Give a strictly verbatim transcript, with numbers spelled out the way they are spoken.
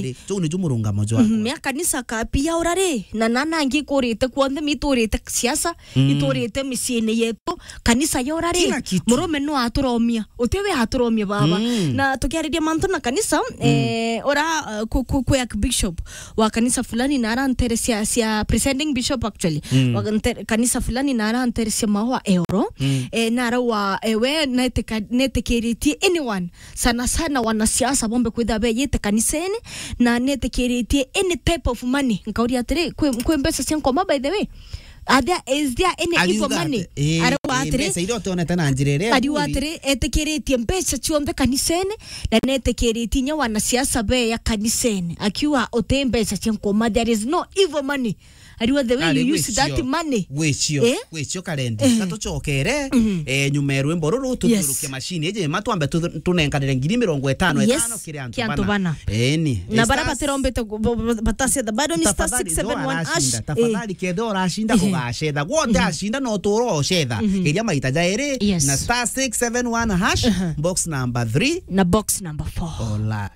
Ri, juu niju murungamo jwakwa. Mhm, mea kanisa ka pia ura ri, na nana angi ikurite kuonthe, mi iturite siasa, mm, iturite miciini yetu, kanisa ya ura ri, kila kitu. Murume no aturomia, uti we aturomia baba. Mm. Na tukiariria mantu na kanisa, mm, eh, ura, uh, ku, ku, ku Archbishop wa kanisa fulani na ara ntere cia, cia presiding bishop actually, mm, wa ntere, kanisa fulani na ara ntere cia maua eoro, mm, eh, na ara wa, eh, we netika-, netikiritie anyone sana sana wanasiasa bombe kwithira beyite kanisene na netikiritie any type of money. Nkauria atiri, kwi, kwi mbeca cia nkoma, by the way? Are there, is there any evil money? Ariuga atiri, mbeca iria utonete na njira iria ariuga atiri, etikiritie mbeca cionthe kanisene na netikiritie inya wanasiasa beya kanisene. Akiuga uti mbeca cia nkoma, there is no evil money. Ariuga the way you use that money. Gwicio, eh? Gwicio karendi. Eh. Na tucokere, mhm, eh, nyuma ya rwimbo ruru, yes, tuthiuruke machine iji, ma twambe tu-, tunenkanire ngiri mirongo itano, yes, itano kiri antu, ki antu bana, bana. Eni. Na bara batirombite gu-, bo-, bo-, batacetha. Bado ni star six seven one hash. Tafadhali, jo arashinda, eh, tafadhali, kethe urashinda, eh, ugacetha. Gwothe, mhm, ashinda no turo ocetha. Mhm. Geria maita jairi, yes, na star six seven one hash, aha, box number three. Na box number four. Alright.